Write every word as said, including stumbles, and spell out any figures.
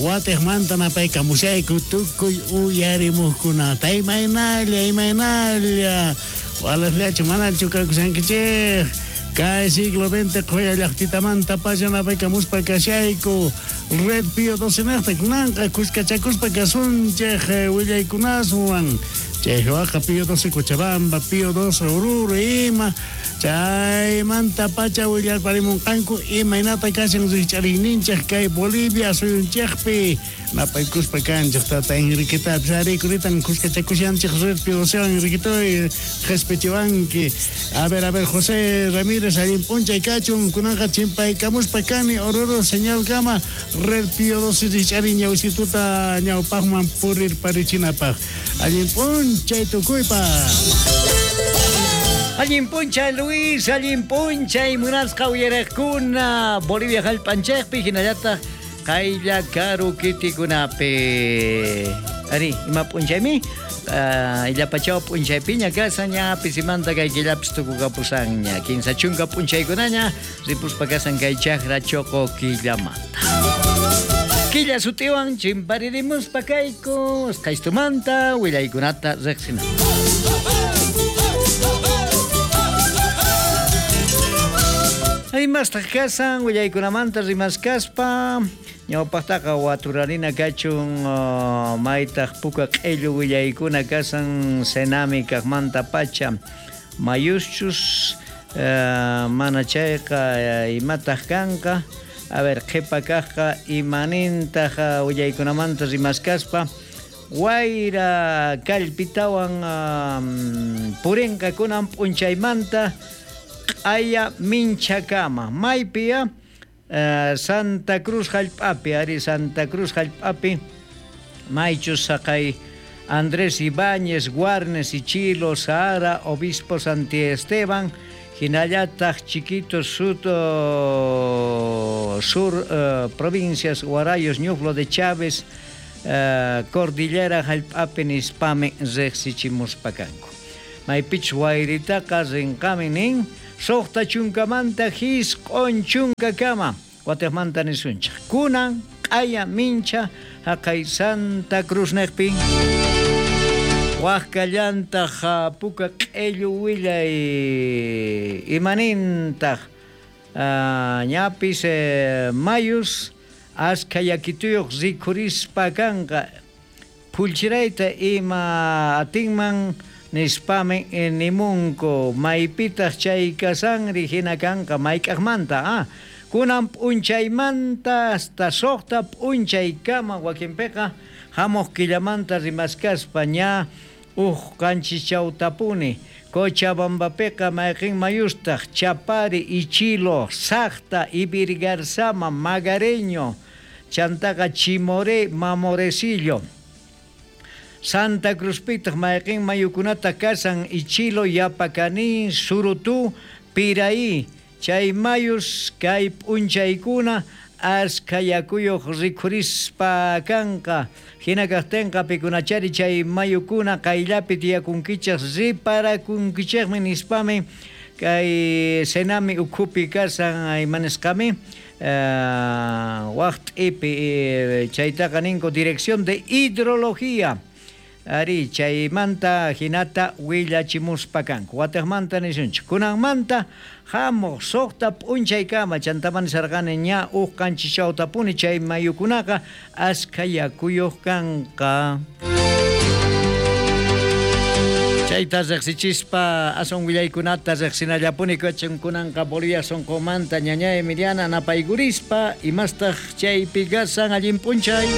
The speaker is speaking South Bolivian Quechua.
Watiqmanta napaykamushayku tukuy uyarimuqkunata. Imaynalla, imaynalla. Walaqllachu manachu kakushankichik. Kay siglo veinte qhuya llaqtitamanta pacha napaykamuspa kashayku. Red Pío doce niqta kunanqa kuskachakuspa kasunchik willaykunaswan. Chay waqa Pío doce Cochabamba, Pío doce Oruro ima. Chaymanta pacha willarparimunqanku imaynata kashan rikch'ariyninchik kay Bolivia suyunchikpi. Napaykuspa kanchik tata Enriquetapis ari kuritan kuskachakushanchik Red Pío docewan. Enriquetoy qhispichiwanki. A ver, a ver, José Ramírez allin p'unchay kachun kunanqa chimpaykamuspa kani Oruro señalkama Red Pío doce rikch'ariy ñawisituta ñawpaqman purirparichinapaq. Allin p'unchay tukuypaq. Allin p'unchay Luis, allin p'unchay munasqa uyariqkuna Bolivia hallp'anchikpi hinallataq qaylla karu kitikunapi. Ari, ima p'unchaymi? Illapachaw p'unchaypiña kasan ña pisimanta kay killapis tukukapusanña. Kinsa chunka p'unchaykunaña ripuspa kasan kay chakra choqo killamanta. Killa sutiwan chimparirimuspa kayku usqhaystumanta willaykunata riqsinapaq. Imastaq kasan willaykunamanta rimaskaspa ñawpaqtaqa waturarina kachun maytaq puka q'illu willaykuna kasan Senami kaqmanta pacha mayuschus mana chayqa imataq kanqa. A ver, qhipa kaqqa imanintaq willaykunamanta rimaskaspa wayra kallpitawan purinqa kunan p'unchaymanta q'aya minchakama maypiya Santa Cruz hallp'api ari Santa Cruz hallp'api maychus saqay Andrés Ibáñez, Guarnes, Ichilo, Sahara, Obispo Santi Esteban hinallataq Chiquito Sud, Sur uh, provincias Guarayos, Ñuflo de Chávez, uh, Cordillera hallp'api nispami riqsichimuspa kanku. Maypich wayritaqa rinqami nin suqta chunkamanta hisq'un chunkakama watiqmanta nisunchik. Kunan q'aya mincha haqay Santa Cruz niqpi. Waqkallantaq puka q'illu willay imanintaq ñapis mayus askha yakituyuq rikhurispa kanqa phullchirayta ima atinman nispami nimunku maypitaq chay kasanri hina kanqa mayk'aqmanta ah kunan p'unchaymanta hasta suqta p'unchaykama wakinpiqa hamuq killamanta rimaskaspa ña uj qanchischawtapuni Cochabambapiqa mayqin mayustaq Chapari, Ichilo, Saqta, Ibirgarzama, Magareño, chantaqa Chimoré, Mamorecillo. Santa Cruzpitaq mayqin mayukunata kasan Ichilo, Yapacaní, Surutú, Piraí. Chay mayus kay p'unchaykuna askha yakuyuq rikhurispa kanqa. Hina kaqtinqa pikunachari chay mayukuna qayllapi tiyakunkichik riparakunkichikmi nispami kay Senami ukhupi kasan imanisqami waq t'ipi chaytaqa ninku Dirección de Hidrología. Ari chaymanta hinata willachimuspa kanku. Watiqmanta nisunchik. Kunanmanta hamuq suqta p'unchaykama chantaman nisarqani ña uj qanchischawtapuni chay mayukunaqa askha yakuyuq kanqa. Chayta riqsichispa aswan willaykunata riqsinallapuni kachun kunanqa Bolivia sunqumanta ñaña Emiliana napaykurispa imastaq chaypi kasan allin p'unchay.